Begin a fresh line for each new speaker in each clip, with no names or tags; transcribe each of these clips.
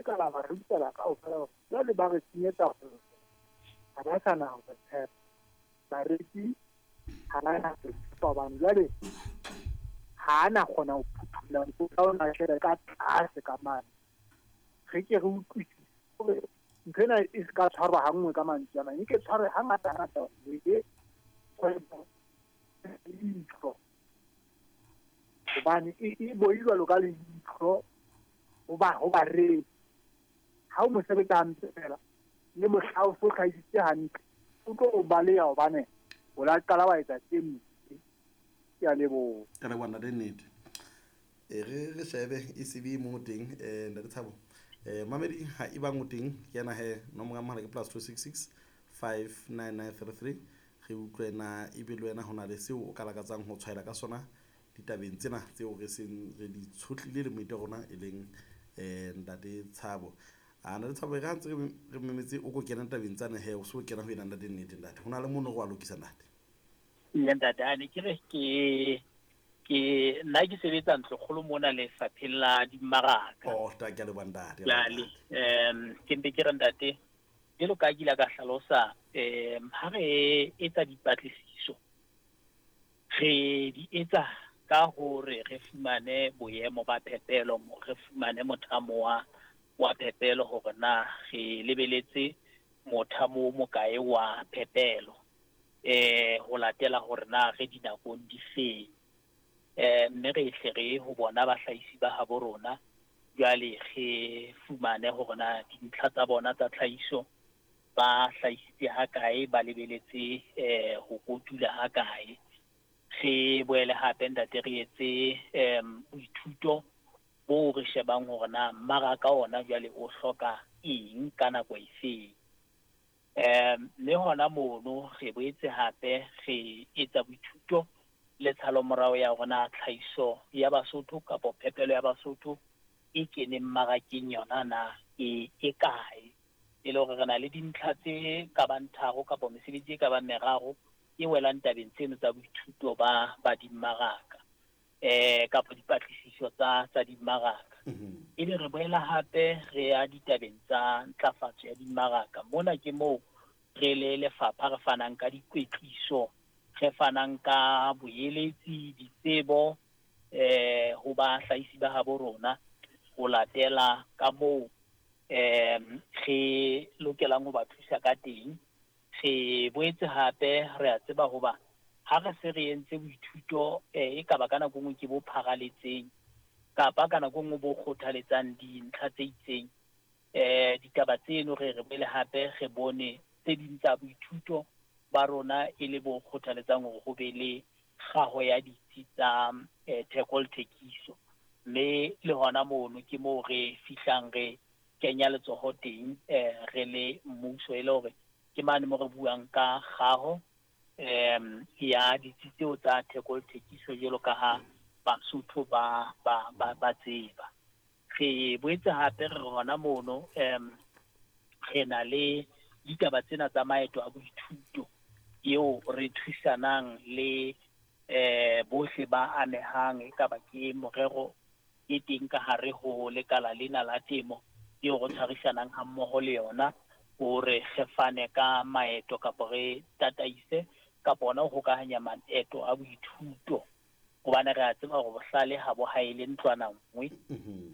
ka la ba rekisela kaofela. Jwale ba re senyetsa kgwebo, ha ba sa na ho re tshepa. Bareki ha ba na re tshepa hobane jwale ha a na kgona ho phuthulla mokotla ona tjhele ka tlase ka mane. Re ke re utlwisise hore ntho ena e se ka tshwarwa ha nngwe ka mantswe a mang, e ke tshwarwe hangata ngata e kgwebo leihlo, hobane e boi jwalo ka leihlo ho bareki. Ha o mo sebetsa hantle fela le mohla o so hlahisitse hantle, o tlo o baleha hobane o la qala wa etsa tse mpe. Ke a leboha.
Ka leboha ntate Nnete. E re shebe e se be mo teng ntate Thabo. Mamedi ha e bang o teng ke yena he nomoro ya mohala ke +266 59933. Re utlwe na ebe le wena ho na le seo o ka lakatsang ho tshwaela ka sona ditabeng tsena tseo re seng re di tshohlile le moeti wa rona e leng ntate Thabo. A ntate Thabo, e re ha ntse re memetse o ko kena tabeng tsane he, o so kena ho ena ntate Nnete. Ntate, ho na le mono re wa lokisa, ntate.
Ee ntate, a ne ke re ke nna ke sebetsa ntlokgolo mona lefapheng la dimmaraka.
Oh, ta ke a leboha ntate.
Jwale ke mpe ke re ntate, jwalo ka ke ile ka hlalosa, ha re etsa dipatlisiso re di etsa ka hore re fumane boemo ba phepelo, re fumane mothamo wa phepelo hore na re lebeletse mothamo o mokae wa phepelo, ho latela hore na re dinakong di feng. Mme re hle re ho bona bahlahisi ba habo rona, jwale re fumane hore na dintlha tsa bona tsa tlhahiso ba hlahisitse ha kae, ba lebeletse ho kotula ha kae. Re boele hape ntate re etse boithuto bo re shebang hore na mmaraka ona jwale o hloka eng ka nako efeng. Mme hona mono re boetse hape re etsa boithuto le tshalomorao ya hore na tlhahiso ya Basotho kapa phepelo ya Basotho e keneng mmarakeng yona na e kae, e le hore re na le dintlha tse ka bang tharo kapa mesebetsi e ka bang meraro e welang tabeng tseno tsa boithuto ba dimmaraka kapa dipatlisiso tsa dimmaraka. Ebe re boela hape re ya ditabeng tsa ntlafatso ya dimmaraka. Mona ke moo re le lefapha re fanang ka dikwetliso, re fanang ka boeletsi, ditsebo ho bahlahisi ba habo rona ho latela ka moo re lokelang ho ba thusa ka teng. Re boetse hape re a tseba hoba ha re se re entse boithuto e ka ba ka nako nngwe ke bo pharaletseng kapa ka nako nngwe bo kgothaletsang dintlha tse itseng, ditaba tseno re boele hape re bone tse ding tsa boithuto ba rona e le bo kgothaletsang hore ho be le kgaho ya ditsi tsa theko le thekiso. Mme le hona mono ke moo re fihlang re kenya letsoho teng re le mmuso, e le hore ke mane mo re buang ka kgaho ya ditsi tseo tsa theko le thekiso jwalo ka ha Basotho ba tseba. Re boetse hape re hona mono re na le ditaba tsena tsa maeto a boithuto eo re thusanang le bohle ba amehang, e ka ba ke morero e teng ka hare ho lekala lena la temo eo re tshwarisanang ha mmoho le yona hore re fane ka maeto kapa re tataise kapa hona ho hokahanya maeto a boithuto, hobane re a tseba hore bohlale ha bo haele ntlwana nngwe.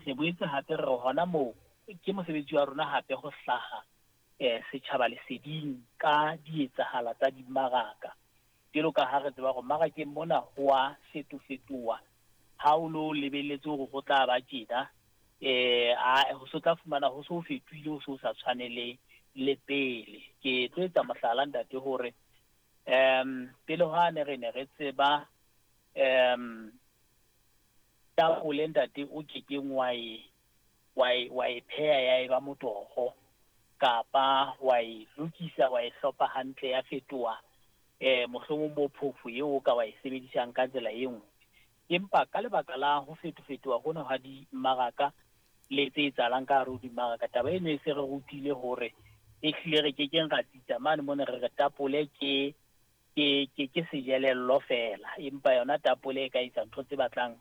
Re boetse hape re hona moo ke mosebetsi wa rona hape ho hlaha setjhaba leseding ka dietsahala tsa dimmaraka. Jwalo ka ha re tseba hore mmarakeng mona ho a fetofetoha, ha o no lebelletse hore ho tla ba tjena, ho so tla fumana ho so fetohile, ho so sa tshwane le pele. Ke tlo etsa mohlala ntate hore pele hwane re ne re tseba tapole ntate o kekeng wa e pheha ya eba motoho kapa wa e lokisa wa e hlopha hantle ya fetoha mohlomong bo phofo eo o ka wa e sebedisang ka tsela e nngwe. Empa ka lebaka la ho fetofetoha hona ha dimmaraka le tse etsahalang ka hare ho dimmaraka, taba eno e se re rutile hore e hlile re kekeng ra tsitsa mane mona re re tapole ke sejelello feela, empa yona tapole e ka etsa ntho tse batlang